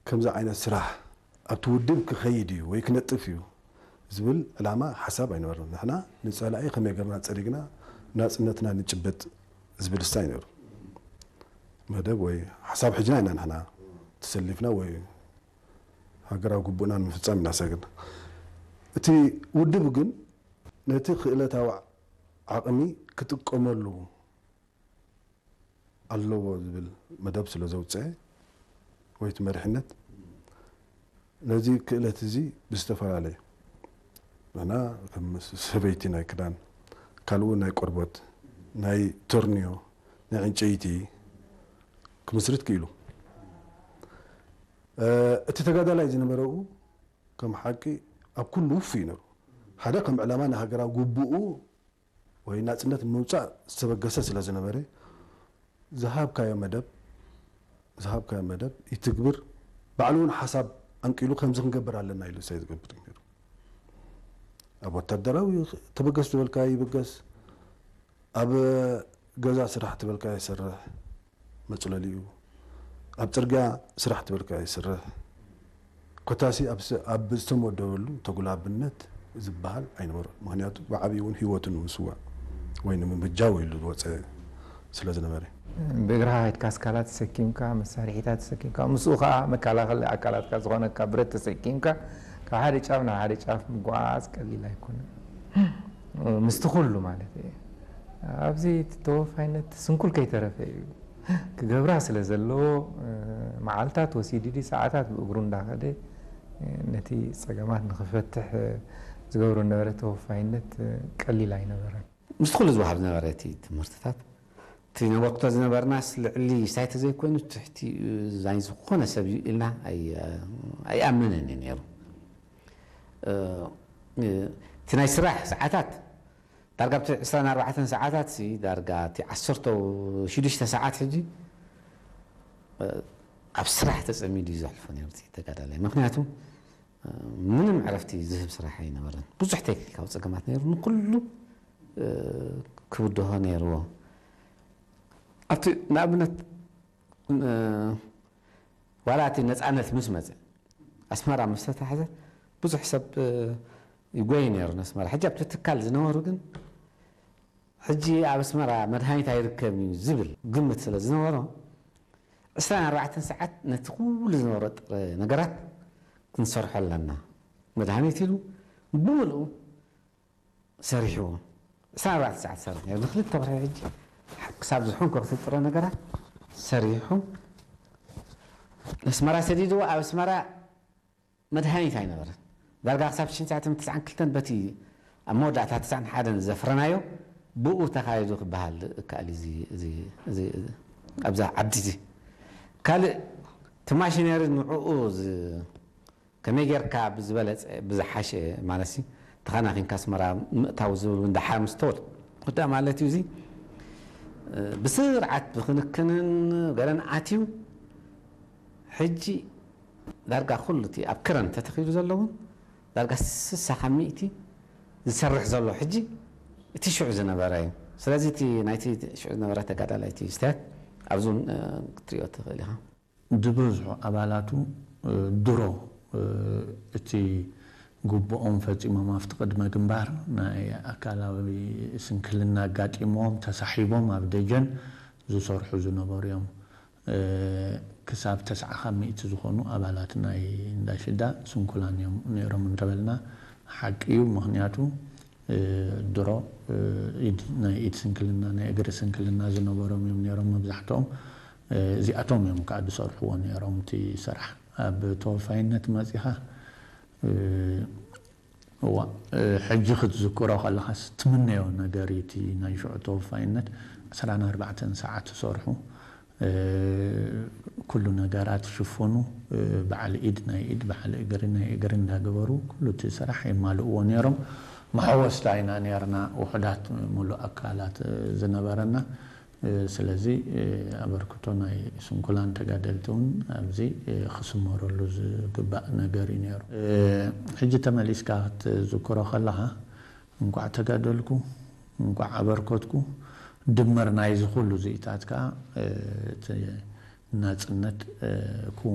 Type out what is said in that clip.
ከምዚ ዓይነት ስራሕ ኣብቲ ውድብ ክኸይድ እዩ ወይ ክነጥፍ እዩ ዝብል ዕላማ ሓሳብ ኣይነበርና። ንሕና ንጸላኢ ከመይ ገርና ጸሪግና ናጽነትና ንጭብጥ ዝብል ስታይ ነይሩ። መደብ ወይ ሓሳብ ሕጅና ኢና ንሕና ተሰሊፍና ወይ ሃገራዊ ግቡእና ንምፍጻም ኢና ሰግርና። እቲ ውድብ ግን ነቲ ክእለታዊ ዓቕሚ ክጥቀመሉ ኣለዎ ዝብል መደብ ስለ ዘውፅአ ወይ እቲ መሪሕነት ነዚ ክእለት እዚ ብዝተፈላለየ ንሕና ከም ሰበይቲ ናይ ክዳን ካልኡ ናይ ቆርበት ናይ ተርንዮ ናይ ዕንጨይቲ ክምስርት ክኢሉ እቲ ተጋዳላይ ዝነበረኡ ከም ሓቂ ኣብ ኩሉ ውፉይ ነሩ ሓደ ከም ዕላማ ንሃገራዊ ግቡኡ ወይ ናጽነት ንምውጻእ ዝተበገሰ ስለ ዝነበረ ዝሃብካዮ መደብ ዝሃብካዮ መደብ ይትግብር ባዕሉ እውን ሓሳብ ኣንቂሉ ከምዚ ክንገብር ኣለና ኢሉ ሳይ ዝገብር ነሩ ኣብ ወታደራዊ ተበገስ ዝበልካ ይብገስ ኣብ ገዛ ስራሕ ትበልካ ይሰርሕ መፅለሊኡ ኣብ ፅርግያ ስራሕ ትበልካ ይሰርሕ ኮታሲ ኣብ ዝተመደበሉ ተጉላብነት ዝበሃል ኣይነበሮ ምክንያቱ ብዓብይ እውን ህይወቱ ንምስዋእ ወይ ንምምጃው ኢሉ ዝወፀ ስለ ዝነበረ ብእግርኻ ከድካ ኣስካላት ተሰኪምካ መሳርሒታት ተሰኪምካ ምስኡ ከዓ መከላኸሊ ኣካላትካ ዝኾነካ ብረት ተሰኪምካ ካብ ሓደ ጫፍ ናብ ሓደ ጫፍ ምጓዓዝ ቀሊል ኣይኮነን ምስቲ ኩሉ ማለት እዩ ኣብዚ ተወፋይነት ስንኩል ከይተረፈ እዩ ክገብራ ስለ ዘለዎ መዓልታት ወሲዱ ሰዓታት ብእግሩ እንዳኸደ ነቲ ፀገማት ንክፈትሕ ዝገብሮ ነበረ ተወፋይነት ቀሊል ኣይነበረን። ምስቲ ኩሉ ዝበሃል ዝነበረ እቲ ትምህርትታት እቲ ነበርክቶ ዝነበርናስ ልዕሊ ሳይ ተዘይኮይኑ ትሕቲ ናይ ዝኾነ ሰብ እዩ ኢልና ኣይኣምንን እዩ ነይሩ። እቲ ናይ ስራሕ ሰዓታት ዳርጋ ኣብቲ ዕስራን ኣርባዕተን ሰዓታት ሲ ዳርጋ እቲ ዓሰርተ ሽዱሽተ ሰዓት ሕጂ ኣብ ስራሕ ተፀሚዱ እዩ ዘሕልፎ ነይሩ እቲ ተጋዳላይ ምክንያቱ ምንም ዕረፍቲ ዝህብ ስራሕ ኣይነበረን ብዙሕ ቴክኒካዊ ፀገማት ነይሩ ንኩሉ ክብድሆ ነይርዎ ኣብቲ ንኣብነት ዋላ እቲ ነፃነት ምስ መፀ ኣስመራ ምስ ተታሕዘ ብዙሕ ሰብ ይጎይ ነይሩ ነስመራ ሕጂ ኣብቲ ትካል ዝነበሩ ግን ሕጂ ኣብ ኣስመራ መድሃኒት ኣይርከብን እዩ ዝብል ግምት ስለ ዝነበሮ ዕስራን ኣርባዕተን ሰዓት ነቲ ኩሉ ዝነበሮ ጥረ ነገራት ክንሰርሖ ኣለና መድሃኒት ኢሉ ብምልኡ ሰሪሕዎ ዕስራን ኣርባዕተን ሰዓት ሰሪሑ ነይሩ ንክልተ ወርሒ ሕጂ ክሳብ ዝሑን ክኽትል ጥረ ነገራት ሰሪሑ ነስመራ ሰዲድዎ ኣብ ኣስመራ መድሃኒት ኣይነበረን ዳርጋ ክሳብ ሽን ትስዓን ክልተን በቲ ኣብ መወዳእታ ትስዓን ሓደን ዘፍረናዮ ብኡ ተኻይዱ ክበሃል እከኣል ኣብዚ ዓዲ እዚ ካልእ እቲ ማሽነሪ ንዕኡ ከመይ ጌርካ ብዝበለፀ ብዝሓሸ ማለት ተኸናኺንካ ኣስመራ ምእታው ዝብል እውን ደሓር ምስ ተወል ወዳ ማለት እዩ እዚ ብስርዓት ብክንክንን ገለን ኣትዩ ሕጂ ዳርጋ ኩሉ እቲ ኣብ ክረን ተተኺሉ ዘለውን ዳርጋ ስሳ ካብ ሚእቲ ዝሰርሕ ዘሎ ሕጂ እቲ ሽዑ ዝነበረ እዩ ስለዚ እቲ ናይቲ ሽዑ ዝነበረ ተጋዳላይ እቲ ስተያት ኣብዚ ክትሪኦ ትኽእል ኢኻ ድብዝሑ ኣባላቱ ድሮ እቲ ግቡኦም ፈፂሞም ኣብቲ ቅድመ ግንባር ናይ ኣካላዊ ስንክልና ኣጋጢምዎም ተሳሒቦም ኣብ ደጀን ዝሰርሑ ዝነበሩ እዮም። ክሳብ ተስዓ ካብ ሚእቲ ዝኾኑ ኣባላት ናይ እንዳሽዳ ስንኩላን እዮም ነይሮም እንተበልና ሓቂ እዩ። ምኽንያቱ ድሮ ኢድ ናይ ኢድ ስንክልና ናይ እግሪ ስንክልና ዝነበሮም እዮም ነይሮም መብዛሕትኦም። እዚኣቶም እዮም ከዓ ዝሰርሕዎ ነይሮም እቲ ስራሕ። ኣብ ተወፋይነት መፂኻ እዋ ሕጂ ክትዝክሮ ከለኻስ ትምነዮ ነገር እዩ። እቲ ናይ ሽዑ ተወፋይነት ዕስራን ኣርባዕተን ሰዓት ትሰርሑ ኩሉ ነገራት ሽፍኑ በዓል ኢድ ናይ ኢድ በዓል እግሪ ናይ እግሪ እንዳገበሩ ኩሉ እቲ ስራሕ የማልእዎ ነይሮም። መሐወስታ ኢና ነርና ውሑዳት ሙሉእ ኣካላት ዝነበረና። ስለዚ ኣበርክቶ ናይ ስንኩላን ተጋደልቲ እውን ኣብዚ ክስመረሉ ዝግባእ ነገር እዩ ነይሩ። ሕጂ ተመሊስካ ክትዝክሮ ከለኻ እንኳዕ ተጋደልኩ እንኳዕ ኣበርከትኩ ድምር ናይዚ ኩሉ ዝኢታት ከዓ እቲ ናፅነት ክውን